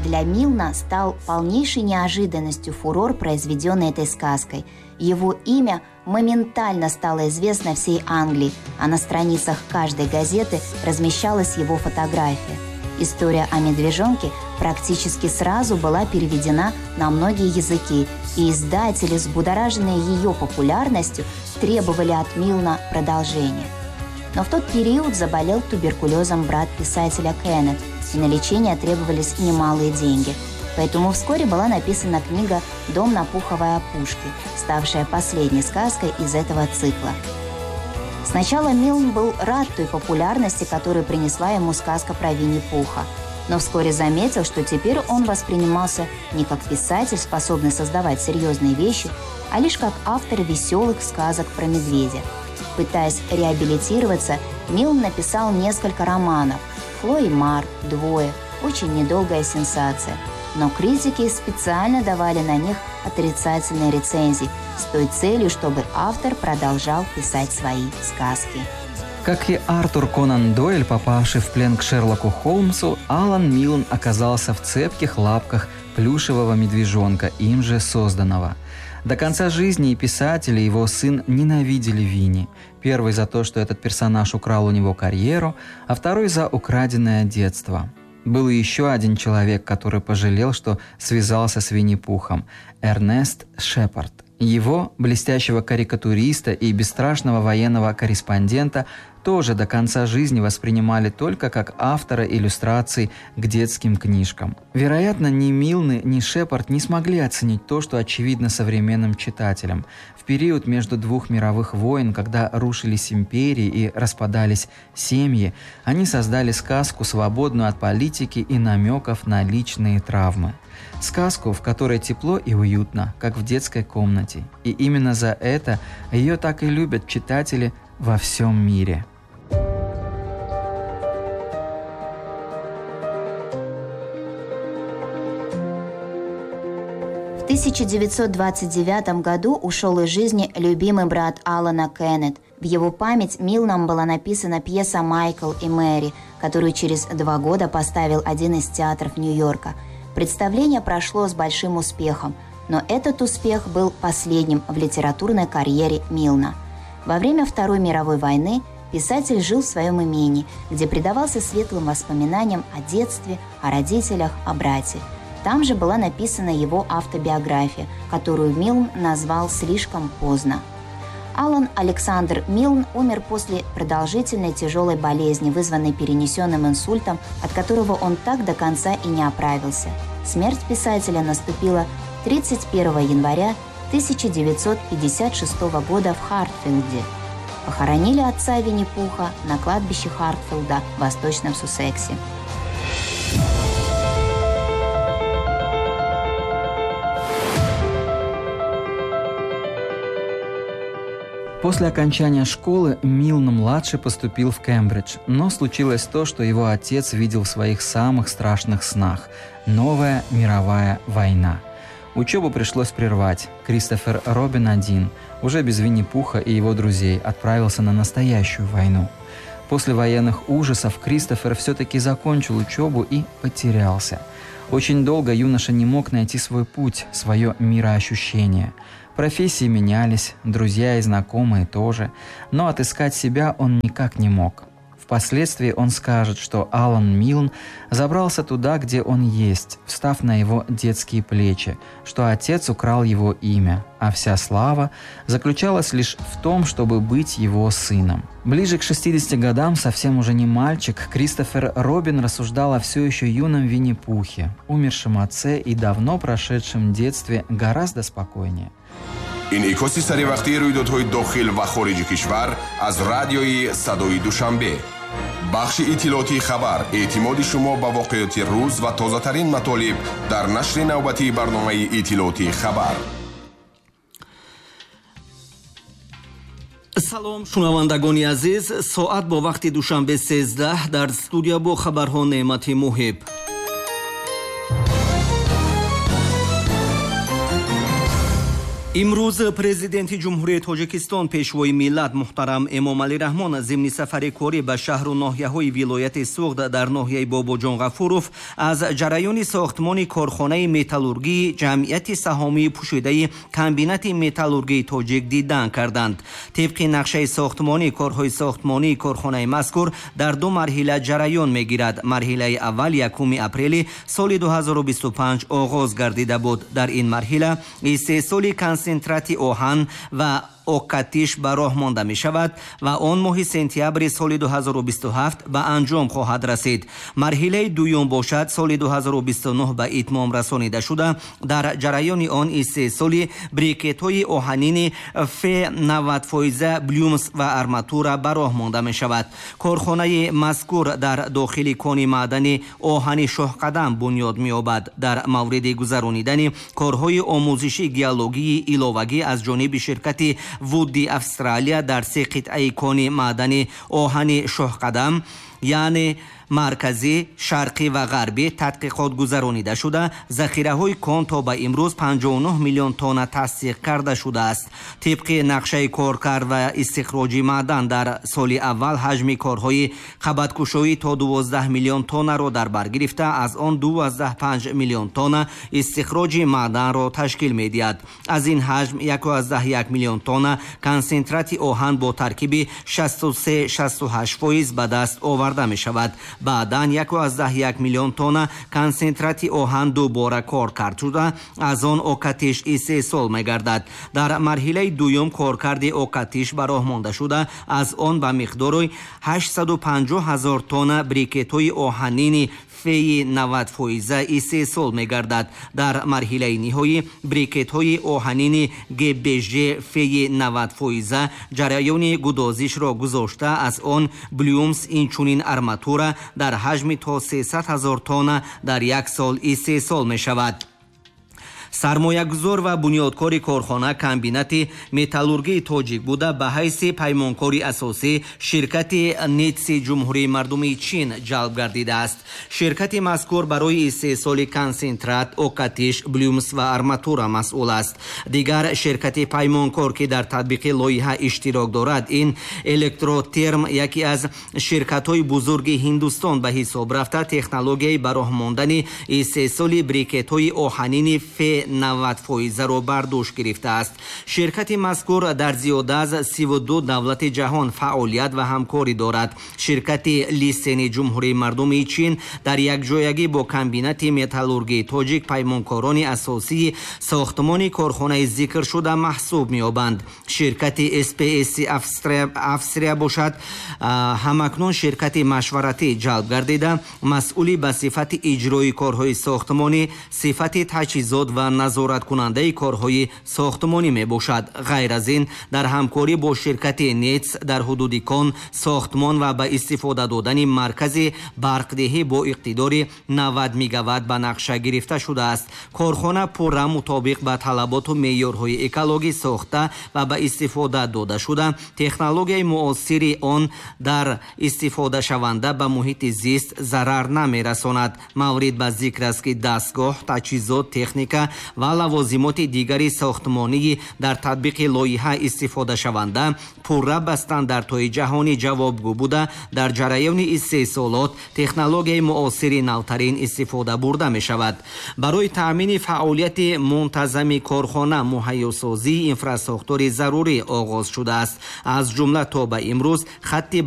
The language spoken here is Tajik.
Для Милна стал полнейшей неожиданностью фурор, произведенный этой сказкой. Его имя моментально стало известно всей Англии, а на страницах каждой газеты размещалась его фотография. История о медвежонке практически сразу была переведена на многие языки, и издатели, взбудораженные ее популярностью, требовали от Милна продолжения. Но в тот период заболел туберкулезом брат писателя Кеннет, и на лечение требовались немалые деньги. Поэтому вскоре была написана книга «Дом на пуховой опушке», ставшая последней сказкой из этого цикла. Сначала Милн был рад той популярности, которую принесла ему сказка про Винни-Пуха. Но вскоре заметил, что теперь он воспринимался не как писатель, способный создавать серьезные вещи, а лишь как автор веселых сказок про медведя. Пытаясь реабилитироваться, Милн написал несколько романов «Фло и Мар», «Двое», «Очень недолгая сенсация». Но критики специально давали на них отрицательные рецензии с той целью, чтобы автор продолжал писать свои сказки. Как и Артур Конан Дойль, попавший в плен к Шерлоку Холмсу, Алан Милн оказался в цепких лапках плюшевого медвежонка, им же созданного. До конца жизни и писатель, и его сын ненавидели Винни. Первый за то, что этот персонаж украл у него карьеру, а второй за украденное детство. Был и еще один человек, который пожалел, что связался с Винни-Пухом – Эрнест Шепард. Его, блестящего карикатуриста и бесстрашного военного корреспондента, тоже до конца жизни воспринимали только как автора иллюстраций к детским книжкам. Вероятно, ни Милны, ни Шепард не смогли оценить то, что очевидно современным читателям. В период между двух мировых войн, когда рушились империи и распадались семьи, они создали сказку, свободную от политики и намеков на личные травмы. Сказку, в которой тепло и уютно, как в детской комнате. И именно за это ее так и любят читатели во всем мире. В 1929 году ушел из жизни любимый брат Алана Кеннет. В его память Милном была написана пьеса «Майкл и Мэри», которую через 2 года поставил один из театров Нью-Йорка. Представление прошло с большим успехом, но этот успех был последним в литературной карьере Милна. Во время Второй мировой войны писатель жил в своем имении, где предавался светлым воспоминаниям о детстве, о родителях, о брате. Там же была написана его автобиография, которую Милн назвал «Слишком поздно». Алан Александр Милн умер после продолжительной тяжелой болезни, вызванной перенесенным инсультом, от которого он так до конца и не оправился. Смерть писателя наступила 31 января 1956 года в Хартфилде. Похоронили отца Винни-Пуха на кладбище Хартфилда в Восточном Суссексе. После окончания школы Милн-младший поступил в Кембридж, но случилось то, что его отец видел в своих самых страшных снах – новая мировая война. Учебу пришлось прервать. Кристофер Робин один, уже без Винни-Пуха и его друзей, отправился на настоящую войну. После военных ужасов Кристофер все-таки закончил учебу и потерялся. Очень долго юноша не мог найти свой путь, свое мироощущение. Профессии менялись, друзья и знакомые тоже, но отыскать себя он никак не мог. Впоследствии он скажет, что Алан Милн забрался туда, где он есть, встав на его детские плечи, что отец украл его имя, а вся слава заключалась лишь в том, чтобы быть его сыном. Ближе к 60 годам, совсем уже не мальчик, Кристофер Робин рассуждал о все еще юном Винни-Пухе, умершем отце и давно прошедшем детстве гораздо спокойнее. Инъикоси саривақтии рӯйдодҳои дохил ва хориҷи кишвар аз радиои Садои Душанбе. Бахши иттилоотии хабар, эътимоди шумо ба воқеоти рӯз ва тозатарин матолиб дар нашри навбатии барномаи иттилоотии хабар. Салом, шунавандагони азиз, соат бо вақти Душанбе 13, дар студия бо хабарҳо Неъмати Муҳиб. Имрӯз президенти Ҷумҳурии Тоҷикистон, пешвои миллат муҳтарам Эмомалӣ Раҳмон зимни сафари корӣ ба шаҳру ноҳияҳои вилояти Суғд дар ноҳияи Бобоҷон Ғафуров аз ҷараёни сохтмони корхонаи металлургии ҷамъияти саҳомии пӯшидаи комбинати металлургии тоҷик дидан карданд. Тибқи нақшаи сохтмонӣ, корҳои сохтмонии корхонаи мазкур дар ду марҳила ҷараён мегирад. Марҳилаи аввал 1 апрели соли 2025 оғоз гардида буд. Дар ин марҳила истеҳсоли консентрати оҳан ва окатиш ба роҳ монда мешавад ва он моҳи сентябри соли 2027 ба анҷом хоҳад расид. Марҳилаи дуюм бошад соли 2029 ба итмом расонида шуда, дар ҷараёни он истеҳсоли брикетҳои оҳанини Ф 90 фоиза, блюмс ва арматура ба роҳ монда мешавад. Корхонаи мазкур дар дохили кони маъдани оҳани Шоҳқадам бунёд меёбад. Дар мавриди гузаронидани корҳои омӯзиши геологии иловагӣ аз ҷониби ширкати Вудди Австралия дар се қитъаи кони маъдани оҳани Шоҳқадам, яъне марказӣ, шарқӣ ва ғарбӣ тадқиқот гузаронида шуда, захираҳои кон то ба имрӯз 59 миллион тонна тасдиқ карда шудааст. Тибқи нақшаи коркард ва истихроҷи маъдан дар соли аввал ҳаҷми корҳои қабаткушоӣ то 12 миллион тоннаро дар бар гирифта, аз он 2,5 миллион тонна истихроҷи маъданро ташкил медиҳад. Аз ин ҳаҷм 1,1 миллион тонна консентрати оҳан бо таркиби 63-68 фоиз ба даст оварда мешавад. Баъдан 1,1 миллион тонна консентрати оҳан дубора коркард шуда, аз он окатиш истеҳсол мегардад. Дар марҳилаи дуюм коркарди окатиш ба роҳ монда шуда, аз он ба миқдори 850 ҳазор тонна брикетҳои оҳанини феи 90 фоиза истеҳсол мегардад. Дар марҳилаи ниҳоӣ брикетҳои оҳанини ГБЖ феи 90 фоиза ҷараёни гудозишро гузошта, аз он блюмс, инчунин арматура дар ҳаҷми то 300 ҳазор тонна дар як сол истеҳсол мешавад. Сармоягузор ва бунёдкори корхона комбинати металлургии тоҷик буда, ба ҳайси паймонкори асосӣ ширкати Нитси Ҷумҳурии Мардумии Чин ҷалб гардидааст. Ширкати мазкур барои истеҳсоли консентрат, окатиш, блюмс ва арматура масъул аст. Дигар ширкати паймонкор, ки дар татбиқи лоиҳа иштирок дорад, ин Электротерм, яке аз ширкатҳои бузурги Ҳиндустон ба ҳисоб рафта, технологияи ба роҳ мондани истеҳсоли брикетҳои оҳанини Ф 90 фоизаро бар дӯш гирифтааст. Ширкати мазкур дар зиёда аз 32 давлати ҷаҳон фаъолият ва ҳамкорӣ дорад. Ширкати Лисени Ҷумҳурии Мардумии Чин дар якҷоягӣ бо комбинати металлургии тоҷик паймонкорони асосии сохтмони корхонаи зикршуда маҳсуб меёбанд. Ширкати СПС Австрия бошад, ҳамакнун ширкати машваратӣ ҷалб гардида, масъули ба сифати иҷрои корҳои сохтмонӣ, сифати таҷҳизот ва назораткунандаи корҳои сохтмонӣ мебошад. Ғайр аз ин, дар ҳамкорӣ бо ширкати Нец дар ҳудуди кон сохтмон ва ба истифода додани маркази барқдиҳӣ бо иқтидори 90 мегаватт ба нақша гирифта шудааст. Корхона пурра мутобиқ ба талаботу меъёрҳои экологӣ сохта ва ба истифода дода шуда, технологияи муосири он дар истифодашаванда ба муҳити зист зарар намерасонад. Маврид ба зикр аст, ки дастгоҳ, таҷҳизот, техника ва лавозимоти дигари сохтмонии дар татбиқи лоиҳа истифодашаванда пурра ба стандартҳои ҷаҳонӣ ҷавобгӯ буда, дар ҷараёни истеҳсолот технологияи муосири навтарин истифода бурда мешавад. Барои таъмини фаъолияти мунтазами корхона муҳайёсозии инфрасохтори зарурӣ оғоз шудааст. Аз ҷумла то ба имрӯз хатти